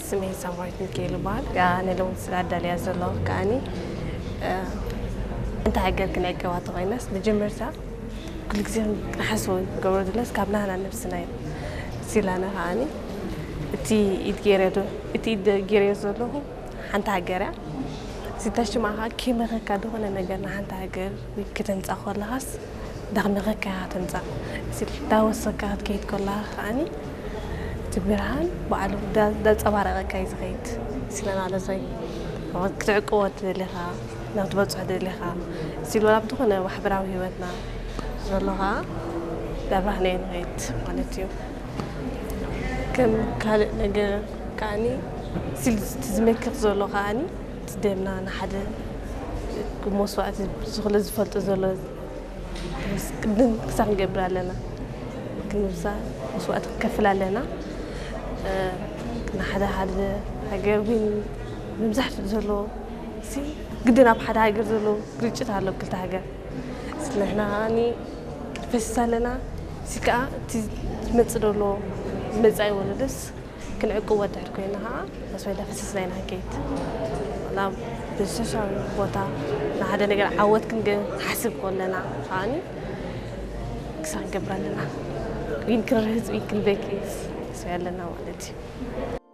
ስመይ ሳምራዊት ሚካኤል ይበሃል። ከኣ ንሎሚ ስለ ኣዳልያ ዘለኹ ከኣኒ፣ እ፣ እንተ ሃገር ክንዕቅባ ተኾይናስ፣ መጀመርታ ኩሉ ግዜ ክንሓስቦ ንገብሮ ዘለስ ካብ ናህና ነብስና እዩ። ሲላና ከኣኒ፣ እቲ ኢድ ገይረ ዶ-፣ እቲ ኢድ ገይረዮ ዘለኹ ሓንቲ ሃገር እያ። ሲታሽ ማኻ ከይመኸካ ዝኾነ ነገር ንሓንቲ ሃገር ከተምጻእ ከለኻስ፣ ዳኽመኸካ እያ ተምጻእ። ሲል-፣ ዳወሰካ ክትከይድ ከለኻ ከኣኒ፣ እቲ ብርሃን ባዕሉ ዳ-፣ ዳንጸባረቐካ እዩ ዝኸይድ። ሲለና ለሰይ ክትዕቅቦ ትደሊኻ፣ ናብ ትበጽሖ ደሊኻ፣ ሲል ወላ ብዝኾነ ማሕበራዊ ህይወትና ዘሎ ኸኣ ዳብራህና እዩ ንኸይድ ማለት እዩ። ከም ካልእ ነገር ከኣኒ፣ ሲል እቲ ዝመክኽ ዘሎ ከኣኒ፣ እቲ ደምና ንሓደ መስዋእቲ ዝኽለ ዝፈልጦ ዘሎ ቅድም ክሳብ ክንገብር ኣለና። ክንብዛ መስዋእቲ ክንከፍል ኣለና። እ፣ ንሓደ ሓደ ሃገር እውን መብዛሕትኡ ዘሎ ሲ ግድን ኣብ ሓደ ሃገር ዘሎ ግርጭት ኣሎ፣ ክልተ ሃገር። ንሕና ከኣኒ ፈሲስ ኣለና። ሲ ከኣ እቲ ዝመጽእ ዘሎ መጻኢ ወለዶስ ክንዕቅቦ ድሕር ኮይና ከኣ፣ ተስፋ ኢላ ፈሲስና ኢና ክንከይድ። ናብ ብዝተሻለ ቦታ ንሓደ ነገር ዓወት ክንገ-፣ ክንሓስብ ከለና ከኣኒ ክሳብ ክንገብር ኣለና። ዊን ክንርህጽ፣ ዊን ክንበኪ ተስፋ ኣለና ማለት እዩ።